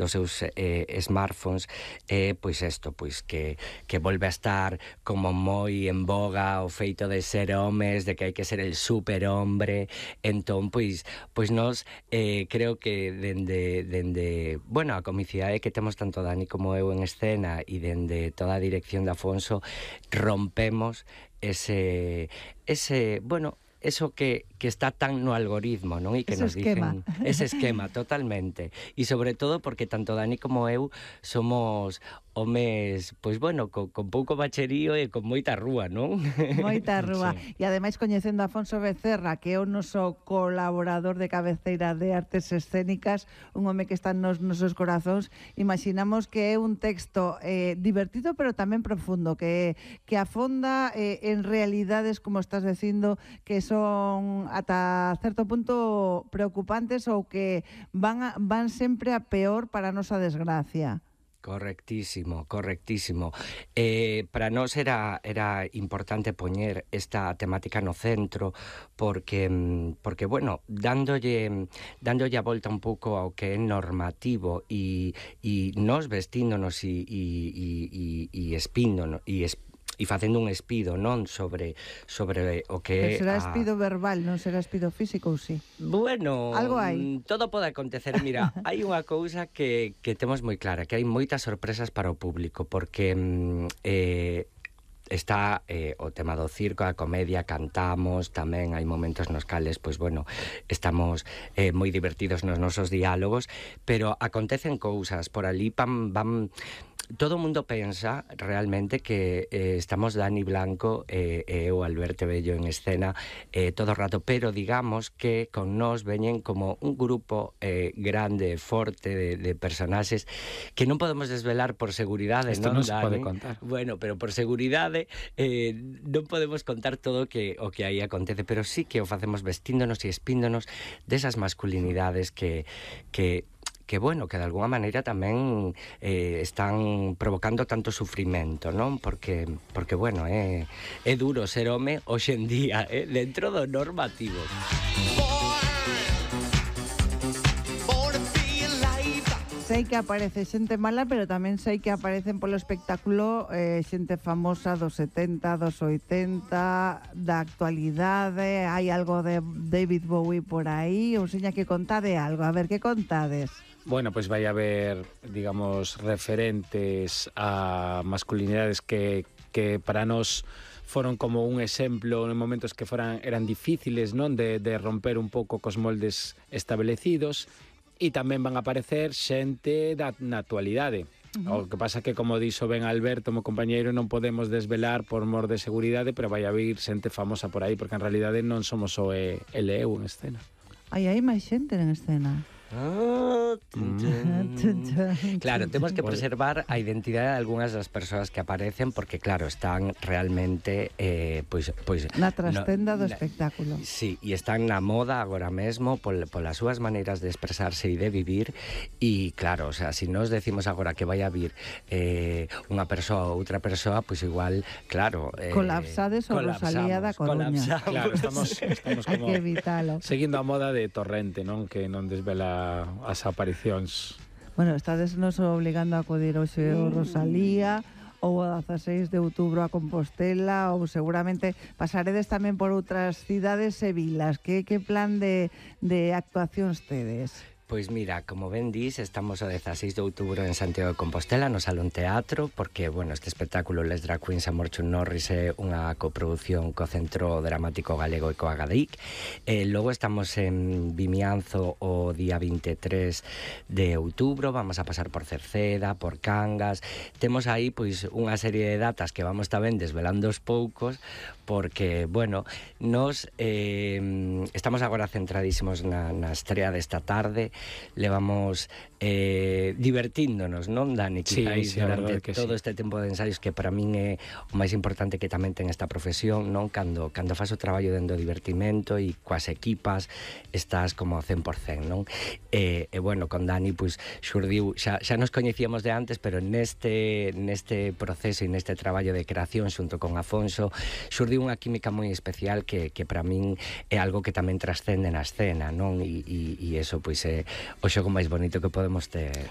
seus smartphones, pois isto, pois que volve a estar como moi en boga o feito de ser homes, de que hai que ser el superhombre. Entón, pois nós creo que dende bueno, a comicidade que temos tanto Dani como eu en escena e dende toda a dirección de Afonso, rompemos ese bueno, eso que está tan no algoritmo, non? E que nos dicen ese esquema, totalmente. E sobre todo porque tanto Dani como eu somos homes, pois bueno, con pouco bacherío e con moita rúa, non? Moita rúa. Sí. E ademais coñecendo a Afonso Becerra, que é o noso colaborador de cabeceira de artes escénicas, un home que está nos nosos corazóns, imaginamos que é un texto divertido, pero tamén profundo, que afonda en realidades, como estás dicindo, que son ata certo punto preocupantes ou que van sempre a peor para a nosa desgracia. Correctísimo. Para nós era importante poñer esta temática no centro porque bueno, dándolle a volta un pouco ao que é normativo e nós vestíndonos e espíndonos e facendo un espido, non, sobre o que é... Será espido verbal, non será espido físico ou si? Bueno, algo hai. Todo pode acontecer. Mira, hai unha cousa que temos moi clara, que hai moitas sorpresas para o público, porque está o tema do circo, a comedia, cantamos, tamén hai momentos nos cales, pois bueno, estamos moi divertidos nos nosos diálogos, pero acontecen cousas por ali, van todo o mundo pensa realmente que estamos Dani Blanco e eu, Alberto Bello, en escena todo o rato, pero digamos que con nós veñen como un grupo grande, forte de personaxes que non podemos desvelar por seguridade. Isto non se pode contar. Bueno, pero por seguridade non podemos contar todo o que aí acontece, pero sí que o facemos vestíndonos e espíndonos desas masculinidades que bueno, que de alguna maneira tamén están provocando tanto sufrimento, non? Porque bueno, é duro ser home hoxe en día, dentro do normativo. Sei que aparece xente mala, pero tamén sei que aparecen polo espectáculo xente famosa dos 70, dos 80, da actualidade. Hai algo de David Bowie por aí, ou seña que contade algo. A ver, que contades? Bueno, pois vai haber, digamos, referentes a masculinidades que para nós foron como un exemplo en momentos que eran difíciles, non, de romper un pouco cos moldes establecidos, e tamén van a aparecer xente na actualidade. O que pasa que, como dixo ben Alberto, meu compañeiro, non podemos desvelar por mor de seguridade, pero vai haber xente famosa por aí, porque en realidade non somos só el e eu en escena. Hai máis xente en escena. Claro, temos que preservar a identidade de algunhas das persoas que aparecen porque, claro, están realmente pois na trastenda do espectáculo. Sí, e están na moda agora mesmo polas súas maneiras de expresarse e de vivir e, claro, o sea, se nos decimos agora que vai a vir unha persoa ou outra persoa, pois igual, claro... colapsades o Rosalía da Coruña. Claro, estamos como... Hai que evitalo. Seguindo a moda de Torrente, non? Que non desvela as aparicións. Bueno, estades nos obligando a acudir hoxe ao Rosalía ou a 16 de outubro a Compostela, ou seguramente pasaredes tamén por outras cidades e vilas. Que plan de actuacións tedes? Pois mira, como ben dis, estamos o 16 de outubro en Santiago de Compostela, no Salón Teatro, porque, bueno, este espectáculo Les Drag Queens Amor Chun Norris é unha coproducción co Centro Dramático Galego e co Agadic. Logo estamos en Vimianzo o día 23 de outubro, vamos a pasar por Cerceda, por Cangas. Temos aí, pois, unha serie de datas que vamos tamén desvelando aos poucos, porque, bueno, nos estamos agora centradísimos na estrea desta tarde. Levamos divertíndonos, non, Dani? Quizáis durante todo este tempo de ensaios, que para min é o máis importante que tamén ten esta profesión, non? Cando faz o traballo dentro do divertimento e coas equipas estás como 100%, non? E bueno, con Dani, pois, xurdiu, xa nos coñecíamos de antes, pero neste proceso e neste traballo de creación xunto con Afonso xurdiu unha química moi especial que para min é algo que tamén trascende na escena, non? E eso, pois, é o xogo máis bonito que podemos ter.